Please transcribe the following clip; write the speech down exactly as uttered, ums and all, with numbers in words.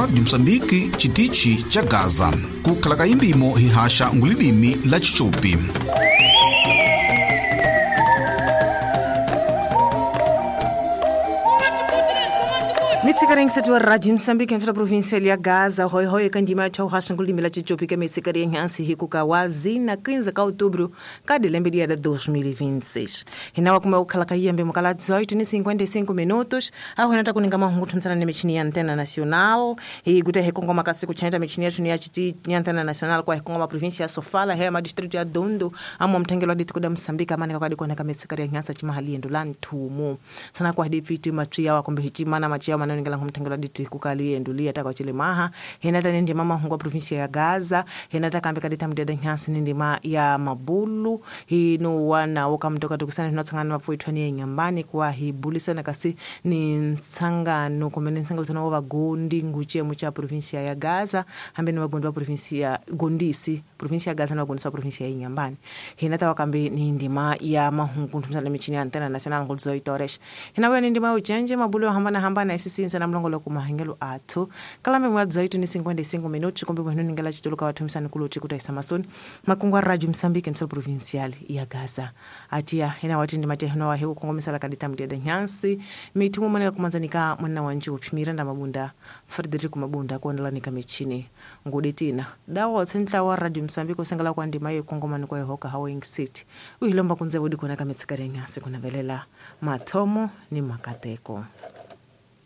Rádio Moçambique, Chitichi cha Gaza. Kukhala indimo hihasha ngulilimi la Chichopi. Mitsikaring wa Rádio Moçambique entre a província de Gaza, hoi hoi kandima tchau rasangulimi la Chichopi que mitsikaring ansi hikuka wazi na quinze de outubro cada lembe dia de dois mil e vinte e seis. Hinawa kuma ukhala kayembe mukala dezoito e cinquenta e cinco minutos, a hona kuninga mahungu thuntsana ne michini ya Antena Nacional, e gute hekongoma kasi kuchenda michini yetu ya chiti ya Antena Nacional kwa hekongoma província ya Sofala, hema distrito ya Dondo, amo mtengelo dituko da Moçambique amane kwa dikona mitsikaring ansa chimahali endo la ntumo. Sana kwa hadithi matria wa kumbe hichimana machia maneno ngela ngumthengela diti kukali endulia ta kwa chilemaha hinata ndi mama hungwa província ya Gaza hinata kambe kadita mdeda nyasi ndi ma ya Mabulu hino wana wokamtoka tukusana tunatsangana mapfuithwa ni nyambani kwa hibulisana kasi ni ntsangano kumene ntsangano tsana wa gondi nguche mucha província ya Gaza hambe ni wagondi wa província ya Gondisi província ya Gaza na wagondi wa província ya Nyambani hinata wakambe ni ndima ya mahungu ntumsana michini ya Antena Nacional ngolzo itoresh hinawe ni ndima ujenje Mabulu hambana hambana sisi na mlongolo kumahengelo athu kalambe mwa dezoito e cinquenta e cinco minutos kumbe mwenu ningela chituluka wathumisana kuluthi kutaisa masoni makungu a Rádio Moçambique msol provincial ya Gaza atia ina wati ndi matehno wa heku kongomisala kadita mdiada nyansi mithumo manela kumanzanika mwana wa njupi Miranda Mabunda Frederico Mabunda kuondelanika michini nguditina dawa tsentla wa Rádio Moçambique osengela kwa ndima ye kongomani kwa yehoka Hawing City uhilomba kunze budi kona kamitsikare nyasi kunavelela mathomo ni makateko.